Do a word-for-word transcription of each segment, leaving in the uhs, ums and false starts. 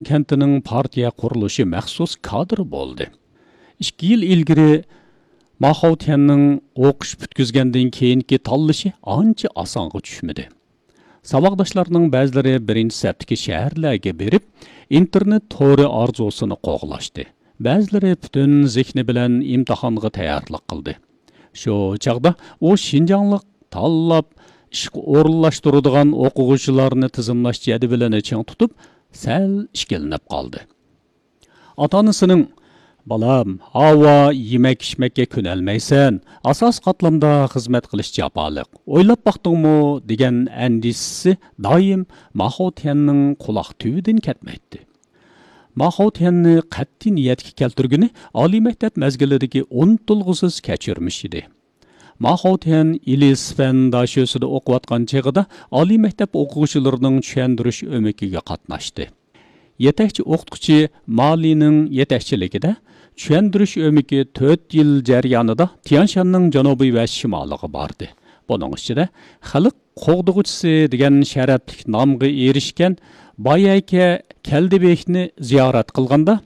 كەنتىنىڭ پارتىيە قۇرۇلۇشى مەخسۇس كادىرى بولدى. ئىككى يىل ئىلگىرى ما خاۋتيەننىڭ ئوقۇش پۈتكۈزگەندىن كېيىنكى تاللىشى ئانچە ئاسانغا چۈشمىدى. ساۋاقداشلارنىڭ بەزىلىرى بىرىنچى سەپتىكى شەھەرلەرگە بېرىپ، ئىنتېرنېت تورى ئارزۇسىنى قوغلاشتى. بەزىلىرى پۈتۈن زېھنى بىلەن ئىمتىھانغا تەييارلىق قىلدى. شۇ چاغدا ئۇ شىنجاڭلىق تاللاپ ئىشقا ئورۇنلاشتۇرىدىغان ئوقۇغۇچىلارنى تىزىملاش جەدۋىلىنى چىڭ تۇتۇپ، سەل ئىككىلىنىپ قالدى. ئاتا-ئانىسىنىڭ، «بالام، ھاۋا يېمەك-ئىچمەككە كۆنەلمەيسەن، ئاساسىي قاتلامدا خىزمەت قىلىش جاپالىق، ئويلاپ باقتىڭمۇ؟» دېگەن ئەندىشىسى دائىم ما خاۋتيەننىڭ قۇلاق تۈۋىدىن كەتمەيتتى. ما خاۋتيەننى قەتئىي نىيەتكە كەلتۈرگىنى ئالىي مەكتەپ مەزگىلىدىكى ئۇنتۇلغۇسىز كەچۈرمىش ئىدى. ما خاۋتيەن ئىلى سىفەن داشۆسىدە ئوقۇۋاتقان چېغىدا ئالىي مەكتەپ ئوقۇغۇچىلىرىنىڭ چۈشەندۈرۈش ئۆمىكىگە قاتناشتى. يېتەكچى ئوقۇتقۇچى مالىنىڭ يېتەكچىلىكىدە چۈشەندۈرۈش ئۆمىكى تۆت يىل جەريانىدا تيەنشاننىڭ جەنۇبى ۋە شىمالىغا باردى. بۇنىڭ ئىچىدە خەلق قوغدىغۇچىسى دېگەن شەرەپلىك نامغا ئېرىشكەن بايەكە كەلدىبېكنى زىيارەت قىلغاندا،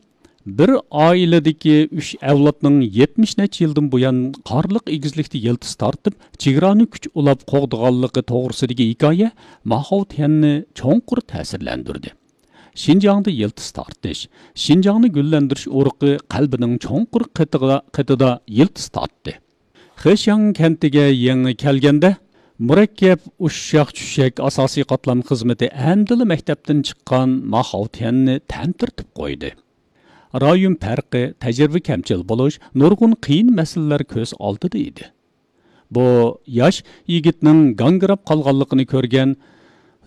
بىر ئائىلىدىكى ئۈچ ئەۋلادنىڭ يەتمىش نەچچە يىلدىن بۇيان قارلىق ئېگىزلىكتە يىلتىز تارتىپ، چېگرانى كۈچ ئۇلاپ قوغدىغانلىقى توغرىسىدىكى ھېكايە ما خاۋتيەننى چوڭقۇر تەسىرلەندۈردى. شىنجاڭدا يىلتىز تارتىش، شىنجاڭنى گۈللەندۈرۈش ئۇرۇقى قەلبىنىڭ چوڭقۇر قېتىغا-، قېتىدا يىلتىز تارتتى. خېشياڭ كەنتىگە يېڭى كەلگەندە، مۇرەككەپ ئۇششاق-چۈششەك ئاساسىي قاتلام خىزمىتى ئەمدىلا مەكتەپتىن چىققان ما خاۋتيەننى تەمتىرىتىپ قويدى. رايون پەرقى، تەجرىبە كەمچىل بولۇش، نۇرغۇن قىيىن مەسىلىلەر كۆز ئالدىدا ئىدى. بۇ ياش يىگىتنىڭ گاڭگىراپ قالغانلىقىنى كۆرگەن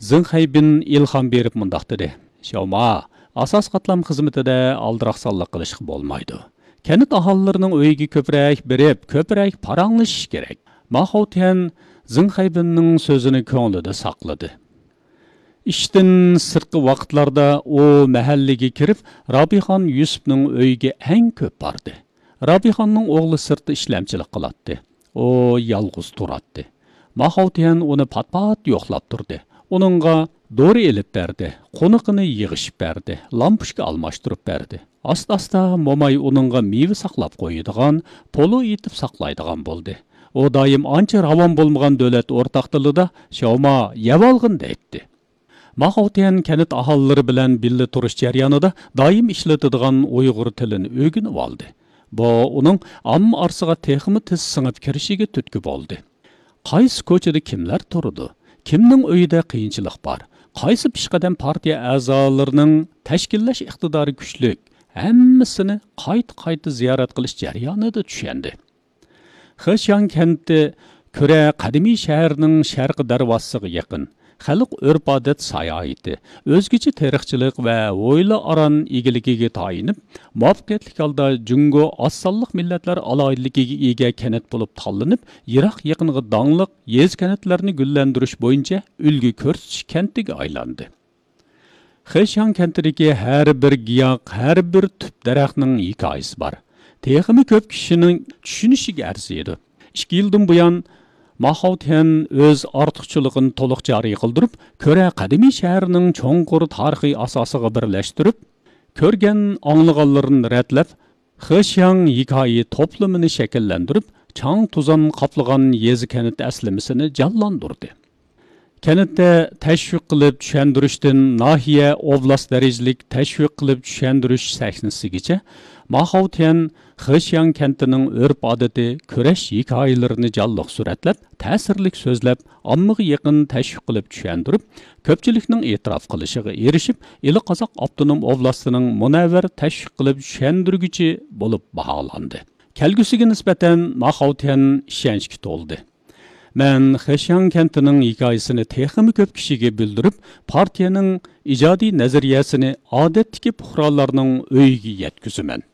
زېڭ خەيبىن ئىلھام بېرىپ مۇنداق دېدى: «شياۋما، ئاساسىي قاتلام خىزمىتىدە ئالدىراقسانلىق قىلىشقا بولمايدۇ. كەنت ئاھالىلىرىنىڭ ئۆيىگە كۆپرەك بېرىپ، كۆپرەك پاراڭلىشىش كېرەك.» ما خاۋتيەن زېڭ خەيبىننىڭ سۆزىنى كۆڭلىدە ساقلىدى. ئىشتىن سىرتقى ۋاقىتلاردا ئۇ مەھەللىگە كىرىپ، رابىخان يۈسۈپنىڭ ئۆيىگە ئەڭ كۆپ باردى. رابىخاننىڭ ئوغلى سىرتتا ئىشلەمچىلىك قىلاتتى. ئۇ يالغۇز تۇراتتى. ما خاۋتيەن ئۇنى پات-پات يوقلاپ تۇردى. ئۇنىڭغا دورا ئېلىپ بەردى، قونىقىنى يىغىشىپ بەردى، لامپۇچكا ئالماشتۇرۇپ بەردى. ئاستا-ئاستا موماي ئۇنىڭغا مېۋە ساقلاپ قويىدىغان، پولۇ ئېتىپ ساقلايدىغان بولدى. ئۇ دائىم ئانچە راۋان بولمىغان دۆلەت ئورتاق تىلىدا «شياۋما، يەۋالغىن» دەيتتى. ما خاۋتيەن كەنت ئاھالىلىرى بىلەن بىللە تۇرۇش جەريانىدا دائىم ئىشلىتىدىغان ئۇيغۇر تىلىنى ئۆگىنىۋالدى. بۇ ئۇنىڭ ئامما ئارىسىغا تېخىمۇ تېز سىڭىپ كىرىشىگە تۈرتكە بولدى. قايسى كوچىدا كىملەر تۇرىدۇ؟ كىمنىڭ ئۆيىدە قىيىنچىلىق بار؟ قايسى پېشقەدەم پارتىيە ئەزالىرىنىڭ تەشكىللەش ئىقتىدارى كۈچلۈك؟ ھەممىسىنى قايتا-قايتا زىيارەت قىلىش جەريانىدا چۈشەندى. خېشياڭ كەنتى كۈرە قەدىمىي شەھەرنىڭ شەرقىي دەرۋازىسىغا يېقىن. خەلق ئۆرپ-ئادەت ساياھىتى، ئۆزگىچە تېرىقچىلىق ۋە ھويلا-ئاران ئىگىلىكىگە تايىنىپ، مۇۋەپپەقىيەتلىك ھالدا جۇڭگو ئاز سانلىق مىللەتلەر ئالاھىدىلىكىگە ئىگە كەنت بولۇپ تاللىنىپ، يىراق-يېقىنغا داڭلىق يېزا-كەنتلەرنى گۈللەندۈرۈش بويىچە ئۈلگە كۆرسىتىش كەنتىگە ئايلاندى. خېشياڭ كەنتىدىكى ھەر بىر گىياھ، ھەر بىر تۈپ دەرەخنىڭ ھېكايىسى بار. تېخىمۇ كۆپ كىشىنىڭ چۈشىنىشىگە ئەرزىيدۇ. ئىككى يىلدىن بۇيان، ما خاۋتيەن ئۆز ئارتۇقچىلىقىنى تولۇق جارى قىلدۇرۇپ، كۈرە قەدىمىي شەھىرىنىڭ چوڭقۇر تارىخىي ئاساسىغا بىرلەشتۈرۈپ، كۆرگەن ئاڭلىغانلىرىنى رەتلەپ، خېشياڭ ھېكايە توپلىمىنى شەكىللەندۈرۈپ، چاڭ-توزان قاپلىغان يېزا-كەنت ئەسلىمىسىنى جانلاندۇردى. كەنتتە تەشۋىق قىلىپ چۈشەندۈرۈشتىن ناھىيە، ئوبلاست دەرىجىلىك تەشۋىق قىلىپ چۈشەندۈرۈش سەھنىسىگىچە، ما خاۋتيەن خېشياڭ كەنتىنىڭ ئۆرپ-ئادىتى، كۈرەش ھېكايىلىرىنى جانلىق سۈرەتلەپ، تەسىرلىك سۆزلەپ، ئاممىغا يېقىن تەشۋىق قىلىپ چۈشەندۈرۈپ، كۆپچىلىكنىڭ ئېتىراپ قىلىشىغا ئېرىشىپ، ئىلى قازاق ئاپتونوم ئوبلاستىنىڭ مۇنەۋۋەر تەشۋىق قىلىپ چۈشەندۈرگۈچى بولۇپ باھالاندى. كەلگۈسىگە نىسبەتەن ما خاۋتيەن ئىشەنچكە تولدى. مەن خېشياڭ كەنتىنىڭ ھېكايىسىنى تېخىمۇ كۆپ كىشىگە بىلدۈرۈپ، پارتىيەنىڭ ئىجادىي نەزەرىيەسىنى ئادەتتىكى پۇقرالارنىڭ ئۆيىگە يەتكۈزىمەن.